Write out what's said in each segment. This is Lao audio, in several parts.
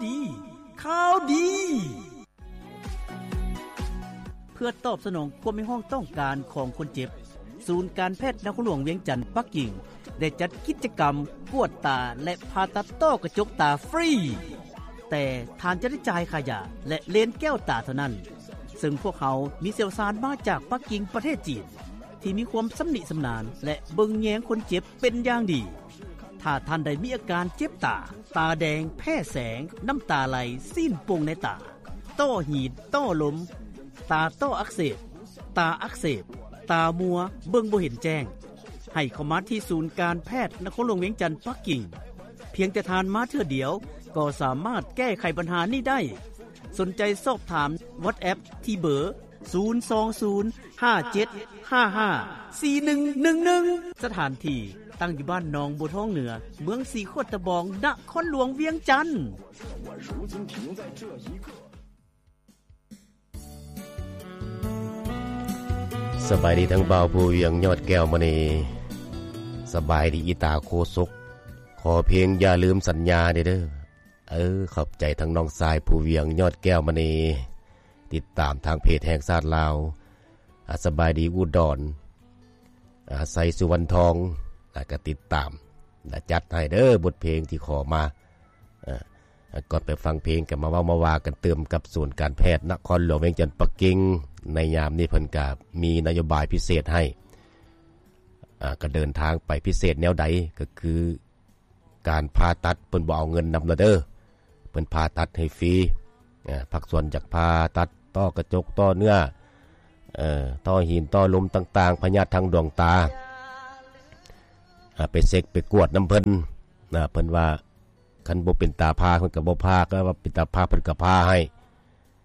ດີ ຂ່າວດີ. ເພື່ອຕອບສະໜອງຄວາມຮຽກຮ້ອງຕ້ອງການຂອງຄົນເຈັບ, ສູນການແພດນະຄອນຫຼວງວຽງຈັນປັກກິ່ງ ໄດ້ຈັດກິດຈະກຳກວດຕາ ແລະ ຜ່າຕັດຕ້ອກະຈົກຕາຟຣີ, ແຕ່ທ່ານຈະໄດ້ຈ່າຍຄ່າຢາ ແລະ ເລນແກ້ວຕາເທົ່ານັ້ນ, ເຊິ່ງພວກເຮົາມີຊ່ຽວຊານມາຈາກປັກກິ່ງປະເທດຈີນ ທີ່ມີຄວາມຊຳນິຊຳນານ ແລະ ເບິ່ງແຍງຄົນເຈັບເປັນຢ່າງດີ. ຖ້າທ່ານໃດມີອາການເຈັບຕາ, ຕາແດງ, ແພ້ແສງ, ນ້ຳຕາໄຫຼ, ຊີ້ນໂປ່ງໃນຕາ, ຕ້ອຫີນ, ຕ້ລົມ, ຕາຕ້ອອັກເສບ, ຕາອັກເສບ, ຕາມົວ, ເບິ່ງບໍ່ເຫັນແຈ້ງ, ໃຫ້ເຂົ້າມາທີ່ສູນການແພດນະຄອນຫຼວງວຽງຈັນປັກກິ່ງ. ພຽງແຕ່ທ່ານມາເທື່ອດຽວກໍສາມາດແກ້ໄຂບັນຫານີ້ໄດ້. ສົນໃຈສອບຖາມ WhatsApp ທີ່ເບີ ສູນສອງສູນ ຫ້າເຈັດຫ້າຫ້າ ສີ່ໜຶ່ງໜຶ່ງໜຶ່ງ. ສະຖານທີ່ຕັ້ງຢູ່ບ້ານໜອງບົວທອງເໜືອ, ເມືອງສີໂຄດຕະບອງ, ນະຄອນຫຼວງວຽງຈັນ. ສະບາຍດີທັງບ່າວພູວຽງ ຍອດແກ້ວມະນີ, ສະບາຍດີອີຕາໂຄສົກ. ຂໍເພງຢ່າລືມສັນຍາເດີ. ເອີ ຂອບໃຈທັງນ້ອງຊາຍພູວຽງ ຍອດແກ້ວມະນີ, ຕິດຕາມທາງເພຈແຫ່ງຊາດລາວ. ອາ ສະບາຍດີອຸດອນ, ອາ ໄຊສຸວັນທອງ, ອາ ກໍຕິດຕາມ ແລະ ຈັດໃຫ້ເດີ ບົດເພງທີ່ຂໍມາ. ອາ ກ່ອນໄປຟັງເພງ ກໍມາເວົ້າມາວ່າກັນຕື່ມກັບສູນການແພດນະຄອນຫຼວງວຽງຈັນປັກກິ່ງ. ໃນຍາມນີ້ເພິ່ນກໍມີນະໂຍບາຍພິເສດໃຫ້, ອາ ກໍເດີນທາງໄປ. ພິເສດແນວໃດ? ກໍຄື ການຜ່າຕັດເພິ່ນບໍ່ເອົາເງິນນຳລະເດີ, ເພິ່ນຜ່າຕັດໃຫ້ຟຣີ. ອາ ພາກສ່ວນຈາກຜ່າຕັດ ຕໍ່ກະຈົກ ຕໍ່ເນື້ອ, ເອີ ຕໍ່ຫີນ ຕໍ່ລົມຕ່າງໆ, ພະຍາດທາງດວງຕາ, ອາ ໄປເຊັກໄປກວດນຳເພິ່ນ. ອາ ເພິ່ນວ່າຄັນບໍ່ເປັນຕາຜ່າ ເພິ່ນກໍບໍ່ຜ່າ, ກໍວ່າເປັນຕາຜ່າ ເພິ່ນກໍຜ່າໃຫ້.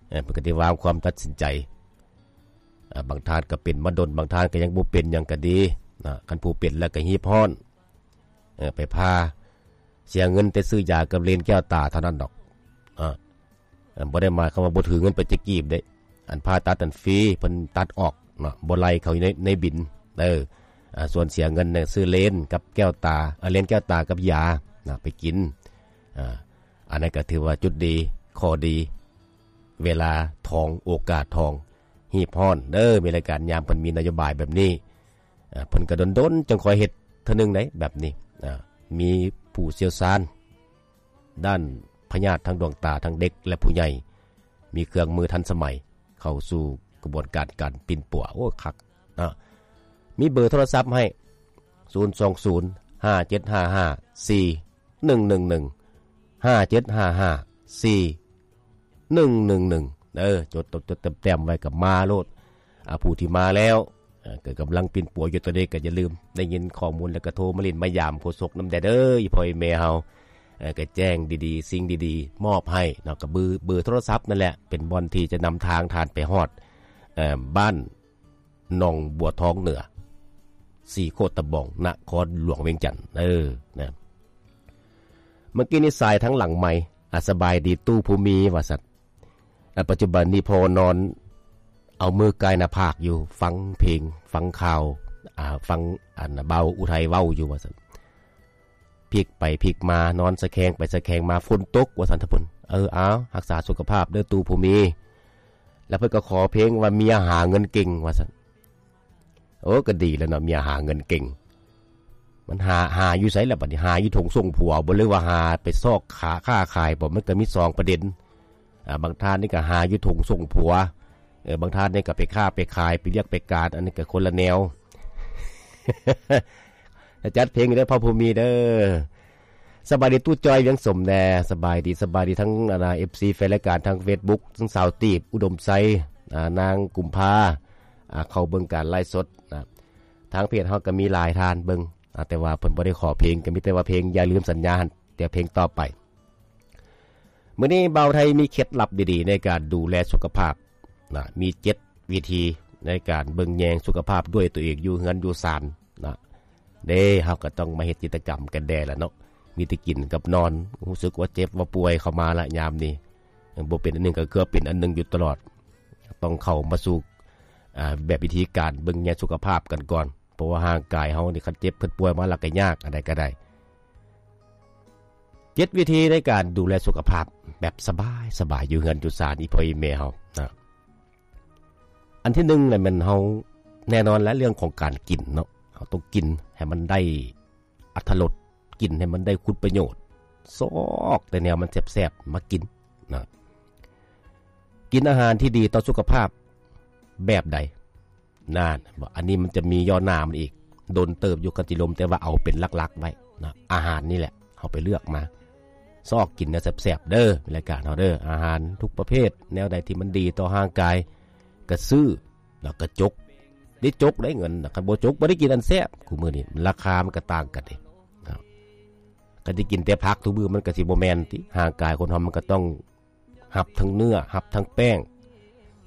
ເອີ ເພິ່ນກໍໄດ້ວາງຄວາມຕັດສິນໃຈ. ອາ ບາງທ່ານກໍເປັນມາດົນ, ບາງທ່ານກໍຍັງບໍ່ເປັນຫຍັງກໍດີນະ, ຄັນຜູ້ເປັນແລ້ວກໍຮີບຮ້ອນ. ເອີ ໄປຜ່າ ເສຍເງິນແຕ່ຊື້ຢາກັບເລນແກ້ວຕາເທົ່ານັ້ນດອກ. ເອີ ບໍ່ໄດ້ໝາຍຄວາມວ່າບໍ່ຖືເງິນໄປຈັກກີບເດ້. ອັນຜ່າຕັດນັ້ນຟຣີ, ເພິ່ນຕັດອອກເນາະ, ບໍ່ໄລ່ເຂົ້າຢູ່ໃນ ໃນບິນ. ເອີ ອາ ສ່ວນເສຍເງິນນະ ຊື້ເລນກັບແກ້ວຕາ, ເອີ ເລນແກ້ວຕາກັບຢານະ ໄປກິນ. ອາ ອັນນັ້ນກໍຖືວ່າຈຸດດີ ຂໍ້ດີ, ເວລາທອງ ໂອກາດທອງ, ຮີບຮ້ອນເດີ. ມີລາຍການຍາມເພິ່ນມີນະໂຍບາຍແບບນີ້. ອາ ເພິ່ນກໍດົນໆຈັ່ງຄ່ອຍເຮັດເທື່ອໜຶ່ງໃດ ແບບນີ້. ອາ ມີຜູ້ຊ່ຽວຊານດ້ານພະຍາດທາງດວງຕາ ທັງເດັກ ແລະ ຜູ້ໃຫຍ່, ມີເຄື່ອງມືທັນສະໄໝ ເຂົ້າສູ່ກະບວນການການປິ່ນປົວ. ໂອ້ ຄັກເນາະ. ມີເບີໂທລະສັບໃຫ້ ສູນສອງສູນ ຫ້າເຈັດຫ້າຫ້າ ສີ່ໜຶ່ງໜຶ່ງໜຶ່ງ, ຫ້າເຈັດຫ້າຫ້າ ສີ່ໜຶ່ງໜຶ່ງໜຶ່ງ. ເອີ ຈົດ ຈົດ ຈົດແຕ້ມໆໄວ້ກໍມາໂລດ. ອາ ຜູ້ທີ່ມາແລ້ວ ເອີ ກໍກຳລັງປິ່ນປົວຢູ່ຕອນນີ້ ກໍຢ່າລືມ, ໄດ້ຍິນຂໍ້ມູນແລ້ວກໍໂທມາຫຼິ້ນມາຢາມໂຄສົກນຳແດ່ເດີ ອີ່ພໍ່ອີ່ແມ່ເຮົາ. ເອີ ກໍແຈ້ງດີໆ ສິ່ງດີໆມອບໃຫ້ເນາະ, ກໍເບີ ເບີໂທລະສັບນັ້ນແຫຼະ ເປັນບ່ອນທີ່ຈະນຳທາງທ່ານໄປຮອດ ເອີ ບ້ານໜອງບົວທອງເໜືອ ສີໂຄດຕະບອງ ນະຄອນຫຼວງວຽງຈັນ. ເອີ ນະ ເມື່ອກີ້ນີ້ສາຍທາງຫຼັງໄມ. ອາ ສະບາຍດີຕູ້ພູມີ ວ່າຊັ້ນ. ອາ ປັດຈຸບັນນີ້ພໍ່ນອນເອົາມືກາຍໜ້າຜາກຢູ່, ຟັງເພງ ຟັງຂ່າວ, ອາ ຟັງອັນບ່າວອຸໄທເວົ້າຢູ່ ວ່າຊັ້ນ. ພິກໄປພິກມາ, ນອນສະແຄງໄປສະແຄງມາ, ຝົນຕົກ ວ່າຊັ້ນທ່ານເພິ່ນ. ເອີ ເອົາ ຮັກສາສຸຂະພາບເດີຕູ້ພູມີ. ແລ້ວເພິ່ນກໍຂໍເພງວ່າເມຍຫາເງິນເກັ່ງ ວ່າຊັ້ນ. ໂອ້ ກໍດີແລ້ວເນາະ, ເມຍຫາເງິນເກັ່ງ. ມັນຫາ ຫາຢູ່ໃສລະບັດນີ້? ຫາຢູ່ຖົງສົ່ງຜົວບໍ ຫຼືວ່າຫາໄປຊອກຫາຄ້າຂາຍບໍ? ມັນກໍມີສອງປະເດັນ. ອາ ບາງທ່ານນີ້ກໍຫາຢູ່ຖົງສົ່ງຜົວ, ເອີ ບາງທ່ານນີ້ກໍໄປຄ້າໄປຂາຍ ໄປວຽກໄປການ, ອັນນີ້ກໍຄົນລະແນວ. ຈັດເພງເດີພໍ່ພູມີເດີ. ສະບາຍດີຕູ້ຈ້ອຍວຽງສົມແດ່. ສະບາຍດີ ສະບາຍດີທັງ ອັນນ່າ ເອັຟຊີ ແຟນລາຍການທາງເຟສບຸກ, ທັງສາວຕີບ ອຸດົມໄຊ, ອາ ນາງກຸມພາ, ອາ ເຂົ້າເບິ່ງການໄລຟ໌ສົດນະ. ທາງເພຈເຮົາກໍມີຫຼາຍທ່ານເບິ່ງ, ອາ ແຕ່ວ່າເພິ່ນບໍ່ໄດ້ຂໍເພງ, ກໍມີແຕ່ວ່າເພງຢ່າລືມສັນຍາຫັ້ນ, ແຕ່ເພງຕໍ່ໄປ. ມື້ນີ້ບ່າວໄທມີເຄັດລັບດີໆໃນການດູແລສຸຂະພາບນະ, ມີເຈັດວິທີໃນການເບິ່ງແຍງສຸຂະພາບດ້ວຍຕົວເອງ ຢູ່ເຮືອນຢູ່ຊານນະ. ເດ້ ເຮົາກໍຕ້ອງມາເຮັດກິດຈະກຳກັນແດ່ລະເນາະ, ມີແຕ່ກິນກັບນອນ, ຮູ້ສຶກວ່າເຈັບວ່າປ່ວຍເຂົ້າມາລະຍາມນີ້, ບໍ່ເປັນອັນໜຶ່ງກໍຄືເປັນອັນໜຶ່ງຢູ່ຕະຫຼອດ. ຕ້ອງເຂົ້າມາສູ່ ອາ ແບບວິທີການເບິ່ງແຍງສຸຂະພາບກັນກ່ອນ, ເພາະວ່າຮ່າງກາຍເຮົານີ້ ຄັນເຈັບຄັນປ່ວຍມາລະກໍຍາກ ອັນໃດກໍໄດ້. ເຈ ເຈັດວິທີໃນການດູແລສຸຂະພາບແບບສະບາຍໆ ຢູ່ເຮືອນຢູ່ຊານ ອີ່ພໍ່ອີ່ແມ່ເຮົານະ. ອັນທີໜຶ່ງແຫຼະແມ່ນເຮົາ ແນ່ນອນແຫຼະ ເລື່ອງຂອງການກິນເນາະ, ເຮົາຕ້ອງກິນໃຫ້ມັນໄດ້ອັດຖະລົດ, ກິນໃຫ້ມັນໄດ້ຄຸນປະໂຫຍດ, ຊອກແຕ່ແນວມັນແຊບໆມາກິນນະ. ກິນອາຫານທີ່ດີຕໍ່ສຸຂະພາບແບບໃດ? ນັ້ນ ອັນນີ້ມັນຈະມີຍໍ້ໜ້າມັນອີກ ດົນເຕີບຢູ່ ຄັນຊິລົມ ແຕ່ວ່າເອົາເປັນຫຼັກໆໄວ້ນະ. ອາຫານນີ້ແຫຼະ ເຮົາໄປເລືອກມາ ຊອກກິນແນວແຊບໆເດີ ລາຍການເຮົາເດີ. ອາຫານທຸກປະເພດ ແນວໃດທີ່ມັນດີຕໍ່ຮ່າງກາຍ ກະຊື້ ແລ້ວກະຈົກ ໄດ້ຈົກໄດ້ເງິນນະ. ຄັນບໍ່ຈົກ ບໍ່ໄດ້ກິນອັນແຊບ. ຄູ່ມື້ນີ້ລາຄາມັນກະຕ່າງກັນເດ້. ຄັນຊິກິນແຕ່ຜັກທຸກມື້ ມັນກະຊິບໍ່ແມ່ນຕິ. ຮ່າງກາຍຄົນເຮົາມັນກະຕ້ອງ ຮັບທັງເນື້ອ ຮັບທັງແປ້ງ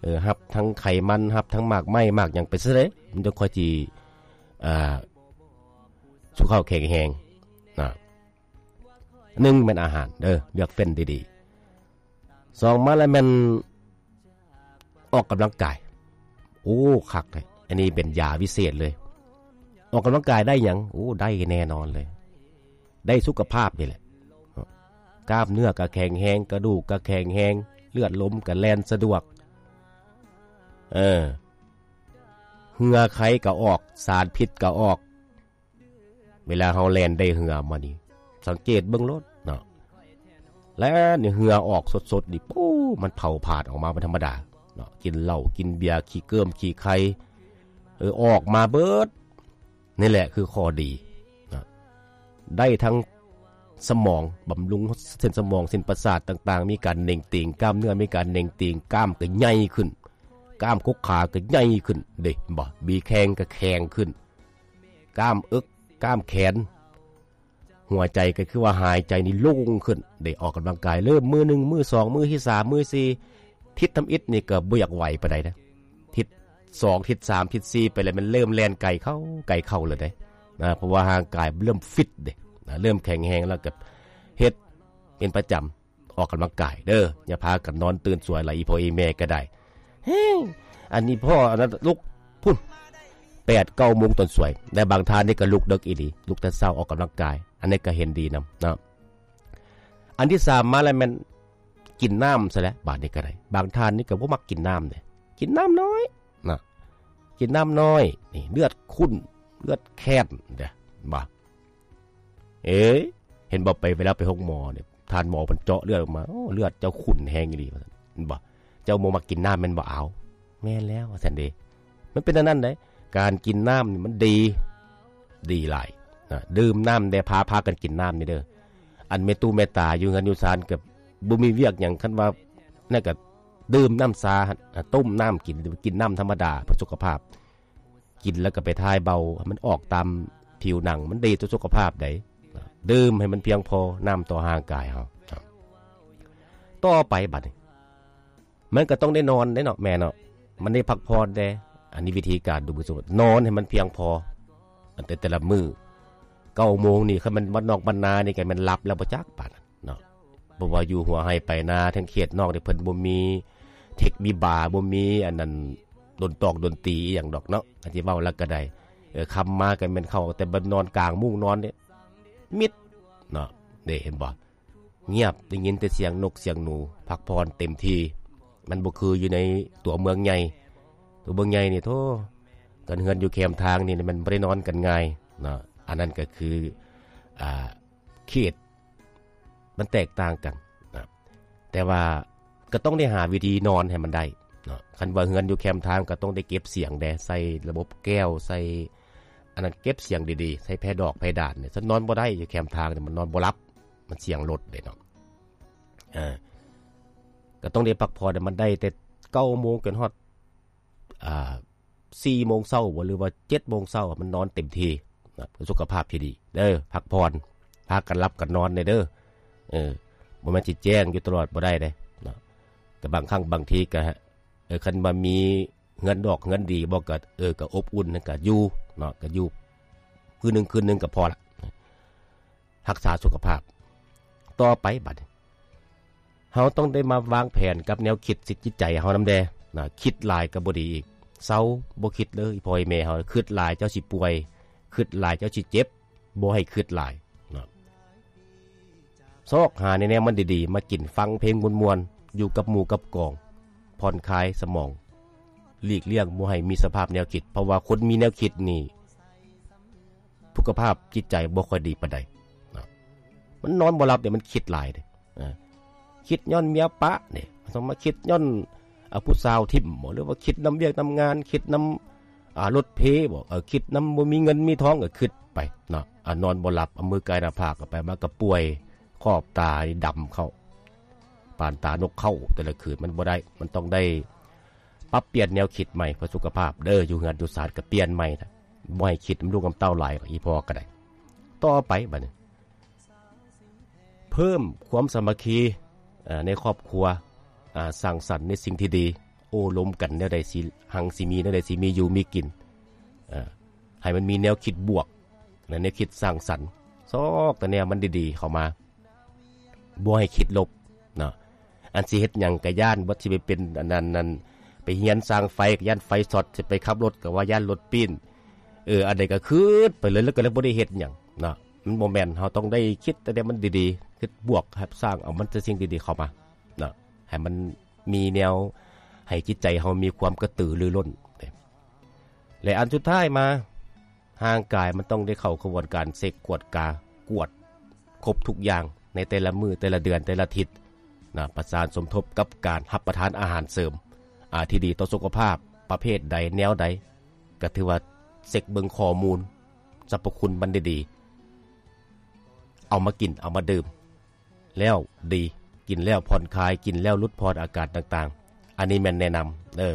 ເອີ ຮັບທັງໄຂມັນ ຮັບທັງໝາກໄມ້ ໝາກຫຍັງໄປຊະເດ ມັນຈັ່ງຄ່ອຍຊິ ອ່າ ສຸຂະພາບແຂງແຮງນະ. ໜຶ່ງແມ່ນອາຫານເດີ ເລືອກເຟັ້ນດີໆ. ສອງມາແລ້ວແມ່ນ ອອກກຳລັງກາຍ. ໂອ້ ຄັກເດ ອັນນີ້ເປັນຢາວິເສດເລີຍ. ອອກກຳລັງກາຍໄດ້ຫຍັງ? ໂອ້ ໄດ້ແນ່ນອນເລີຍ ໄດ້ສຸຂະພາບນີ້ແຫຼະ. ກ້າມເນື້ອກະແຂງແຮງ ກະດູກກະແຂງແຮງ ເລືອດລົມກະແລ່ນສະດວກ ເອີ ເຫື່ອໄຄກະອອກ ສານພິດກະອອກ. ເວລາເຮົາແລ່ນໄດ້ເຫື່ອມານີ້ ສັງເກດເບິ່ງໂລດເນາະ ແລ່ນນີ້ເຫື່ອອອກສົດໆນີ້ ໂອ້ ມັນເຜົາຜາດອອກມາບໍ່ທຳມະດາເນາະ. ກິນເຫຼົ້າກິນເບຍ ຂີ້ເກີ້ມຂີ້ໄຄ ເອີ ອອກມາເບິດ. ນີ້ແຫຼະຄືຂໍ້ດີນະ ໄດ້ທັງສະໝອງ ບຳລຸງເສັ້ນສະໝອງ ເສັ້ນປະສາດຕ່າງໆ ມີການເໜັງຕີງ ກ້າມເນື້ອມີການເໜັງຕີງ ກ້າມກໍໃຫຍ່ຂຶ້ນ ກ້າມກົກຂາກໍໃຫຍ່ຂຶ້ນເດ້ ເຫັນບໍ່? ບີແຂ້ງກໍແຂງຂຶ້ນ ກ້າມເອິກ ກ້າມແຂນ ຫົວໃຈກໍຄືວ່າຫາຍໃຈນີ້ໂລ່ງຂຶ້ນ ໄດ້ອອກກຳລັງກາຍ. ເລີ່ມມື້ໜຶ່ງ ມື້ສອງ ມື້ທີສາມ ມື້ທີສີ່ ທິດທຳອິດນີ້ກໍບໍ່ຢາກໄຫວປານໃດນະ. ທິດສອງ ທິດສາມ ທິດສີ່ ໄປແລ້ວ ມັນເລີ່ມແລ່ນໄກເຂົ້າ ໄກເຂົ້າແລ້ວເດ້ນະ ເພາະວ່າຮ່າງກາຍເລີ່ມຟິດເດ້ນະ ເລີ່ມແຂງແຮງ ແລ້ວກໍເຮັດເປັນປະຈຳ ອອກກຳລັງກາຍເດີ. ຢ່າພາກັນນອນຕື່ນສວຍຫຼາຍ ອີ່ພໍ່ອີ່ແມ່ກໍໄດ້. ເຮີ້ຍ ອັນນີ້ພໍ່ອັນນັ້ນລຸກພຸ້ນ ແປດເກົ້າໂມງຕອນສວຍ ແລະບາງທ່ານນີ້ກໍລຸກເດິກອີ່ຫຼີ ລຸກແຕ່ເຊົ້າອອກກຳລັງກາຍ ອັນນີ້ກໍເຫັນດີນຳເນາະ. ອັນທີສາມມາແລ້ວແມ່ນກິນນ້ຳຊະແຫຼະ ບາດນີ້ກໍໄດ້. ບາງທ່ານນີ້ກໍບໍ່ມັກກິນນ້ຳເດ້ ກິນນ້ຳໜ້ອຍນະ ກິນນ້ຳໜ້ອຍ ນີ້ເລືອດຂຸ້ນ ເລືອດແຄນເດ້ ເຫັນບໍ່? ເອີຍ ເຫັນບໍ່? ໄປ ເວລາໄປໂຮງໝໍນີ້ ທ່ານໝໍເພິ່ນເຈາະເລືອດອອກມາ ໂອ້ ເລືອດເຈົ້າຂຸ້ນແຮງອີ່ຫຼີ ວ່າຊັ້ນ ເຫັນບໍ່? ເຈົ້າບໍ່ມັກກິນນ້ຳແມ່ນບໍ່? ອ້າວ ແມ່ນແລ້ວ ວ່າຊັ້ນເດ້. ມັນເປັນອັນນັ້ນເດ້ ການກິນນ້ຳນີ້ມັນດີ ດີຫຼາຍນະ. ດື່ມນ້ຳແດ່ ພາ ພາກັນກິນນ້ຳນີ້ເດີ. ອັນແມ່ຕູ້ແມ່ຕາຢູ່ເຮືອນຢູ່ຊານກໍບໍ່ມີວຽກຫຍັງ ຄັນວ່ານັ້ນກໍດື່ມນ້ຳຊາ ຕົ້ມນ້ຳກິນ ກິນນ້ຳທຳມະດາເພື່ອສຸຂະພາບ. ກິນແລ້ວກໍໄປຖ່າຍເບົາ ໃຫ້ມັນອອກຕາມຜິວໜັງ ມັນດີຕໍ່ສຸຂະພາບໃດ໋. ດື່ມໃຫ້ມັນພຽງພໍ ນ້ຳຕໍ່ຮ່າງກາຍເຮົາ. ຕໍ່ໄປບັດນີ້ ມັນກໍຕ້ອງໄດ້ນອນເດ້ເນາະ ແມ່ເນາະ ມັນໄດ້ພັກຜ່ອນແດ່. ອັນນີ້ວິທີການດູແລສຸຂະພາບ ນອນໃຫ້ມັນພຽງພໍ ອັນແຕ່ ແຕ່ລະມື້ ເກົ້າໂມງນີ້ ຄັນແມ່ນບ້ານນອກບ້ານນານີ້ ກໍແມ່ນຫຼັບແລ້ວບໍ່ຈັກປານນັ້ນ ເນາະ. ເພາະວ່າຢູ່ຫົວໄຮ່ໄປນາ ທາງເຂດນອກນີ້ ເພິ່ນບໍ່ມີເທັກມີບາ ບໍ່ມີອັນນັ້ນ ດົນຕອກດົນຕີອີ່ຫຍັງດອກເນາະ ຄັນຊິເວົ້າແລ້ວກໍໄດ້. ເອີ ຄ່ຳມາກໍແມ່ນເຂົ້າ ແຕ່ບັດນອນກາງມຸ້ງນອນນີ້ ມິດເນາະ ເດ້ ເຫັນບໍ່? ງຽບ ໄດ້ຍິນແຕ່ສຽງນົກສຽງໜູ ພັກຜ່ອນເຕັມທີ່. ມັນບໍ່ຄືຢູ່ໃນຕົວເມືອງໃຫຍ່ ຕົວເມືອງໃຫຍ່ນີ້ ໂທ້ ກັນເຮືອນຢູ່ແຄມທາງນີ້ ມັນບໍ່ໄດ້ນອນກັນງ່າຍເນາະ. ອັນນັ້ນກໍຄື ອ່າ ເຂດມັນແຕກຕ່າງກັນນະ ແຕ່ວ່າກໍຕ້ອງໄດ້ຫາວິທີນອນໃຫ້ມັນໄດ້ເນາະ. ຄັນວ່າເຮືອນຢູ່ແຄມທາງ ກໍຕ້ອງໄດ້ເກັບສຽງແດ່ ໃສ່ລະບົບແກ້ວ ໃສ່ອັນນັ້ນ ເກັບສຽງດີໆ ໃສ່ແພດອກແພດານນີ້. ຄັນນອນບໍ່ໄດ້ຢູ່ແຄມທາງນີ້ ມັນນອນບໍ່ຫຼັບ ມັນສຽງລົດເດ້ເນາະ. ເອີ ກໍຕ້ອງໄດ້ພັກຜ່ອນໃຫ້ມັນໄດ້ ແຕ່ເກົ້າໂມງຈົນຮອດ ອ່າ ສີ່ໂມງເຊົ້າບໍ ຫຼືວ່າເຈັດໂມງເຊົ້າ ມັນນອນເຕັມທີ່ນະ ເພື່ອສຸຂະພາບທີ່ດີເດີ. ພັກຜ່ອນ ພາກັນຫຼັບກັນນອນແດ່ເດີ. ເອີ ບໍ່ແມ່ນຊິແຈ້ງຢູ່ຕະຫຼອດບໍ່ໄດ້ເດ້ເນາະ. ແຕ່ບາງຄັ້ງບາງທີກໍ ເອີ ຄັນວ່າມີເຮືອນດອກເຮືອນດີບໍ ກໍ ເອີ ກໍອົບອຸ່ນ ກໍຢູ່ເນາະ ກໍຢູ່ມື້ໜຶ່ງຄືນໜຶ່ງກໍພໍລະ. ຮັກສາສຸຂະພາບຕໍ່ໄປ. ບັດນີ້ເຮົາຕ້ອງໄດ້ມາວາງແຜນກັບແນວຄິດ ຈິດໃຈເຮົານຳແດ່ນະ. ຄິດຫຼາຍກໍບໍ່ດີອີກ ເຊົາ ບໍ່ຄິດເລີຍ. ພໍ່ແມ່ເຮົາ ຄິດຫຼາຍເຈົ້າຊິປ່ວຍ ຄິດຫຼາຍເຈົ້າຊິເຈັບ ບໍ່ໃຫ້ຄິດຫຼາຍເນາະ. ຊອກຫາແນວມັນດີໆ ມາກິນ ຟັງເພງມ່ວນໆ ຢູ່ກັບໝູ່ກັບກອງ ຜ່ອນຄາຍສະໝອງ ຫຼີກລ່ຽງບໍ່ໃຫ້ມີສະພາບແນວຄິດ ເພາະວ່າຄົນມີແນວຄິດນີ້ ສຸຂະພາບຈິດໃຈບໍ່ຄ່ອຍດີປານໃດເນາະ. ມັນນອນບໍ່ຫຼັບເດ້ ມັນຄິດຫຼາຍເດ້ ເອີ ຄິດຍ້ອນເມຍປະເດ້ ຕ້ອງມາຄິດຍ້ອນ ອາ ຜູ້ສາວຖິ້ມບໍ ຫຼືວ່າຄິດນຳວຽກນຳງານ ຄິດນຳ ອາ ລົດເພບໍ ເອີ ຄິດນຳບໍ່ມີເງິນມີທອງ ກໍຄິດໄປເນາະ ອາ ນອນບໍ່ຫຼັບ ເອົາມືກາຍໜ້າຜາກ ໄປມາກໍປ່ວຍ ຂອບຕານີ້ດຳເຂົ້າ ປານຕານົກເຂົາ ແຕ່ລະຄືນ ມັນບໍ່ໄດ້ ມັນຕ້ອງໄດ້ປັບປ່ຽນແນວຄິດໃໝ່ ເພື່ອສຸຂະພາບເດີ ຢູ່ເຮືອນຢູ່ຊານກໍປ່ຽນໃໝ່ນະ ບໍ່ໃຫ້ຄິດນຳລູກນຳເຕົ້າຫຼາຍ ອີ່ພໍ່ກໍໄດ້. ຕໍ່ໄປບັດນີ້ ເພີ່ມຄວາມສາມັກຄີ ເອີ ໃນຄອບຄົວ ອາ ສ້າງສັນໃນສິ່ງທີ່ດີ ໂອ້ລົມກັນແນວໃດຊິຮັ່ງຊິມີ ແນວໃດຊິມີຢູ່ມີກິນ ເອີ ໃຫ້ມັນມີແນວຄິດບວກ ແລະ ແນວຄິດສ້າງສັນ ຊອກແຕ່ແນວມັນດີໆເຂົ້າມາ ບໍ່ໃຫ້ຄິດລົບເນາະ. ອັນຊິເຮັດຫຍັງກໍຢ້ານ ບໍ່ ຊິໄປເປັນອັນນັ້ນ ນັ້ນ ໄປຮຽນຊ່າງໄຟກໍຢ້ານໄຟຊັອດ ຊິໄປຂັບລົດກໍວ່າຢ້ານລົດປີ້ນ ເອີ ອັນໃດກໍຄິດໄປເລີຍ ແລ້ວກໍເລີຍບໍ່ໄດ້ເຮັດຫຍັງເນາະ. ມັນບໍ່ແມ່ນ ເຮົາຕ້ອງໄດ້ຄິດແຕ່ແນວມັນດີໆ ຄິດບວກ ຮັບສ້າງເອົາມັນແຕ່ສິ່ງດີໆເຂົ້າມາເນາະ ໃຫ້ມັນມີແນວໃຫ້ຈິດໃຈເຮົາມີຄວາມກະຕືລືລົ້ນເດ້. ແລະ ອັນສຸດທ້າຍມາ ຮ່າງກາຍມັນຕ້ອງໄດ້ເຂົ້າຂະບວນການເຊັກກວດກາ ກວດຄົບທຸກຢ່າງ ໃນແຕ່ລະມື້ ແຕ່ລະເດືອນ ແຕ່ລະທິດນະ ປະສານສົມທົບກັບການຮັບປະທານອາຫານເສີມ ອາ ທີ່ດີຕໍ່ສຸຂະພາບ ປະເພດໃດ ແນວໃດ ກໍຖືວ່າເຊັກເບິ່ງຂໍ້ມູນ ສັບພະຄຸນມັນດີໆ ເອົາມາກິນ ເອົາມາດື່ມ ແລ້ວດີ ກິນແລ້ວຜ່ອນຄາຍ ກິນແລ້ວຫຼຸດຜ່ອນອາການຕ່າງໆ ອັນນີ້ແມ່ນແນະນຳເດີ.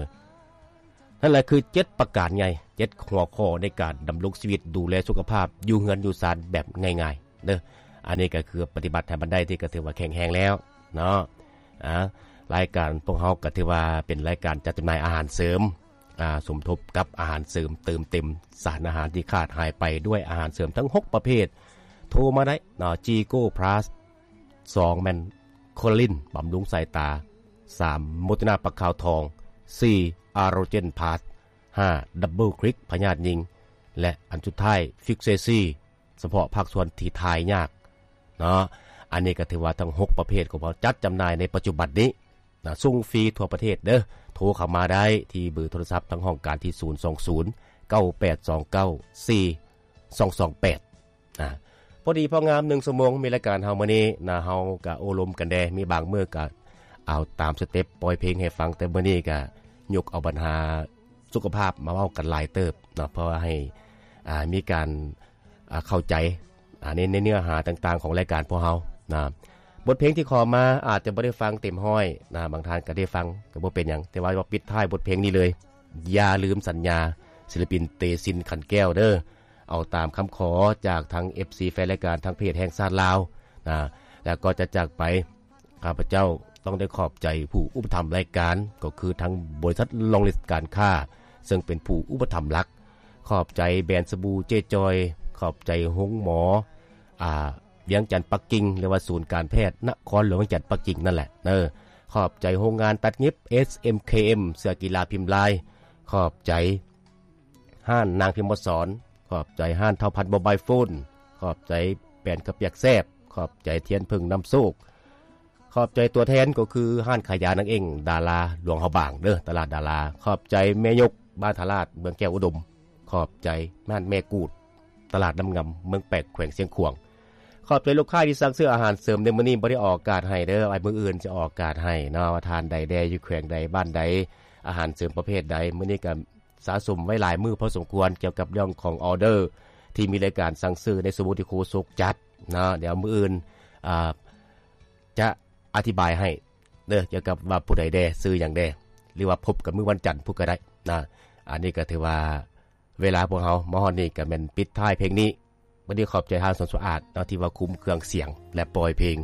ນັ້ນແຫຼະຄືເຈັດປະການໃຫຍ່ ເຈັດຫົວຂໍ້ໃນການດຳລົງຊີວິດ ດູແລສຸຂະພາບ ຢູ່ເຮືອນຢູ່ຊານແບບງ່າຍໆເດີ. ອັນນີ້ກໍຄືປະຕິບັດໃຫ້ມັນໄດ້ ທີ່ກໍຖືວ່າແຂງແຮງແລ້ວເນາະ. ອາ ລາຍການພວກເຮົາກໍຖືວ່າເປັນລາຍການຈັດຈຳໜ່າຍອາຫານເສີມ ອາ ສົມທົບກັບອາຫານເສີມ ເຕີມເຕັມສານອາຫານທີ່ຂາດຫາຍໄປດ້ວຍອາຫານເສີມທັງຫົກປະເພດ. ໂທມາໄດ້ເນາະ ຈີໂກພລັສ ສອງ ແມ່ນໂຄລາລິນ ບຳລຸງສາຍຕາ, ສາມ ໂມເຕີນາ ປາກຂາວທອງ, ສີ່ ອາໂຣເຈນພລັສ, ຫ້າ ດັບເບິນຄລິກ ພະຍາດຍິງ ແລະ ອັນສຸດທ້າຍ ຟິກເຊຊີ ສະເພາະພາກສ່ວນທີ່ຖ່າຍຍາກເນາະ. ອັນນີ້ກໍຖືວ່າທັງຫົກປະເພດຂອງເຮົາຈັດຈຳໜ່າຍໃນປັດຈຸບັນນີ້ນະ ສົ່ງຟຣີທົ່ວປະເທດເດີ. ໂທເຂົ້າມາໄດ້ທີ່ເບີໂທລະສັບທາງຫ້ອງການທີ່ ສູນສອງສູນ ເກົ້າແປດສອງເກົ້າ ສີ່ສອງສອງແປດ ນະ. ພໍດີພໍງາມ ໜຶ່ງຊົ່ວໂມງມີລາຍການເຮົາມື້ນີ້ນະ ເຮົາກະໂອ້ລົມກັນແດ່ ມີບາງມື້ກະເອົາຕາມສະເຕັບ ປ່ອຍເພງໃຫ້ຟັງ ແຕ່ມື້ນີ້ກະຍົກເອົາບັນຫາສຸຂະພາບມາເວົ້າກັນຫຼາຍເຕີບເນາະ ເພື່ອໃຫ້ ອ່າ ມີການ ອ່າ ເຂົ້າໃຈ ອ່າ ໃນ ໃນເນື້ອຫາຕ່າງໆຂອງລາຍການພວກເຮົານະ. ບົດເພງທີ່ຂໍມາອາດຈະບໍ່ໄດ້ຟັງເຕັມຮ້ອຍນະ ບາງທ່ານກໍໄດ້ຟັງກໍບໍ່ເປັນຫຍັງ ແຕ່ວ່າ ວ່າປິດທ້າຍບົດເພງນີ້ເລີຍ ຢ່າລືມສັນຍາ ສິລະປິນ ເຕຊິນ ຂັນແກ້ວ ເດີ. ເອົາຕາມຄຳຂໍຈາກທາງເອັຟຊີແຟນລາຍການທາງເພຈແຫ່ງຊາດລາວນະ ແລ້ວກໍຈະຈາກໄປ ຂ້າພະເຈົ້າຕ້ອງໄດ້ຂອບໃຈຜູ້ອຸປະຖຳລາຍການ ກໍຄືທາງບໍລິສັດລອງລິດການຄ້າ ເຊິ່ງເປັນຜູ້ອຸປະຖຳຫຼັກ. ຂອບໃຈແບຣນສະບູເຈຈອຍ, ຂອບໃຈໂຮງໝໍ ອາ ວຽງຈັນປັກກິ່ງ ຫຼືວ່າສູນການແພດນະຄອນຫຼວງວຽງຈັນປັກກິ່ງນັ້ນແຫຼະເດີ. ຂອບໃຈໂຮງງານຕັດຫຍິບ ເອສເອັມເຄເອັມ ເສື້ອກິລາພິມລາຍ. ຂອບໃຈ ຮ້ານນາງພິມມະສອນ, ຂອບໃຈຮ້ານເທົ່າພັນໂມບາຍໂຟນ, ຂອບໃຈແປ້ນເຂົ້າປຽກແຊບ, ຂອບໃຈທຽນເຜິ້ງນຳໂຊກ, ຂອບໃຈຕົວແທນກໍຄືຮ້ານຂາຍຢານາງເອງ ດາລາຫຼວງພະບາງເດີ ຕະຫຼາດດາລາ, ຂອບໃຈແມ່ຍົກບ້ານທ່າລາດ ເມືອງແກ້ວອຸດົມ, ຂອບໃຈຮ້ານແມ່ກູດ ຕະຫຼາດນ້ຳງາມ ເມືອງແປກ ແຂວງຊຽງຂວາງ. ຂອບໃຈລູກຄ້າທີ່ສັ່ງຊື້ອາຫານເສີມໃນມື້ນີ້ ບໍ່ໄດ້ອອກອາກາດໃຫ້ເດີ, ໄວ້ມື້ອື່ນຈະອອກອາກາດໃຫ້ເນາະ ວ່າທ່ານໃດແດ່ ຢູ່ແຂວງໃດ ບ້ານໃດ ອາຫານເສີມປະເພດໃດ. ມື້ນີ້ກໍ ສະສົມໄວ້ຫຼາຍມື້ພໍສົມຄວນກ່ຽວກັບເລື່ອງຂອງອອເດີ ທີ່ມີລາຍການສັ່ງຊື້ໃນຊົ່ວໂມງທີ່ໂຄສົກຈັດເນາະ. ດຽວມື້ອື່ນ ອາ ຈະອະທິບາຍໃຫ້ເດີ ກ່ຽວກັບວ່າຜູ້ໃດແດ່ ຊື່ຫຍັງແດ່ ຫຼືວ່າພົບກັນມື້ວັນຈັນພຸ້ນກໍໄດ້ນະ. ອັນນີ້ກໍຖືວ່າເວລາພວກເຮົາມາຮອດນີ້ ກໍແມ່ນປິດທ້າຍເພງນີ້. ວັນນີ້ຂອບໃຈທາງສວນສະອາດເນາະ ທີ່ວ່າຄຸມເຄື່ອງສຽງ ແລະ ປ່ອຍເພງ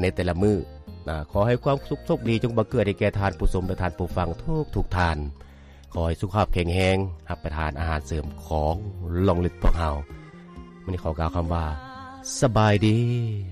ໃນແຕ່ລະມື້ນະ. ຂໍໃຫ້ຄວາມສຸກໂຊກດີຈົ່ງບັງເກີດໃຫ້ແກ່ທ່ານຜູ້ຊົມ ແລະ ທ່ານຜູ້ຟັງທຸກໆທ່ານ. ຂໍໃຫ້ສຸຂະພາບແຂງແຮງ, ຮັບປະທານອາຫານເສີມຂອງລອງລິດພວກເຮົາ. ມື້ນີ້ຂໍກ່າວຄຳວ່າ ສະບາຍດີ.